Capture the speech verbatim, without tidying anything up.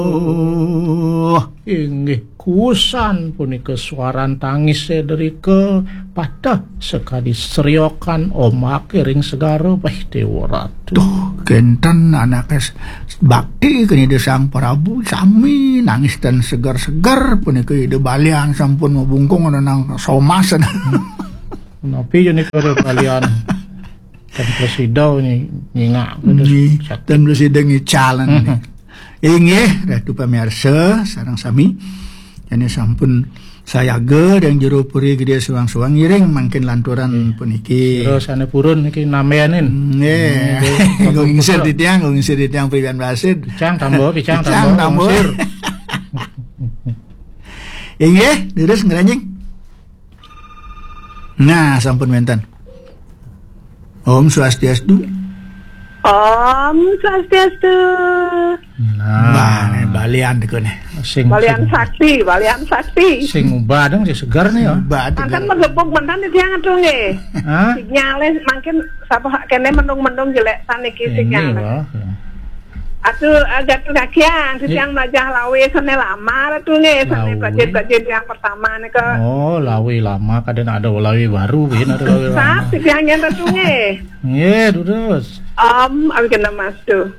Oh, inggih kusan punika suaran tangis Sedrika pateh sakadi seriokan ombak ring segara. Wah, Dewa Ratu. Tuh, kenten anake s-, bakti kene Ida Sang Prabu sami nangis dan segar-segar punika Ida Balian sampun mabungkung ana nang somas. Napi jane kada Balian? Kan prasida ni nyingak. Nggih, dan prasida ngicalan. Mhm. Inggih, Ratu pamirsa sareng sami. Jane sampun sayaga ring jero puri Gedhe Suwang-suwang ngiring mangkin lanturan puniki. Sira sane purun niki nambenin. Nggih. Nggih, Kanggo ngisir titiang, kanggo ngisir titiang priyan wasid. Picang tambah, picang Picang tambah, tambah. Ngisir. Inggih, leres ngranjing. Nah, sampun wenten. Om Swastiastu. Om Swastiastu. Nah, Mbah, nih, Balian niku nih. Sing Balian sing sakti, Balian sakti. Sing ubah dong, sing segar nih ya. Mbah, Mantan tegar. Megepuk, mantan di tiang tuh nggih. Hah? Sinyale mangkin sapa kene mendung-mendung jelek saniki Ini sinyale. Loh. Atuh, eh, Gatu Kakian, Iya. Titiang melajah lawe sane lama tuh nggih, sane Lawe. Bajit-bajit yang pertama nih ke. Oh, lawe lama, kadang ada lawe baru, bin ada lawe lama. Saat titiang nyen tuh nggih. Nggih, terus. Om, abi kena mas tuh.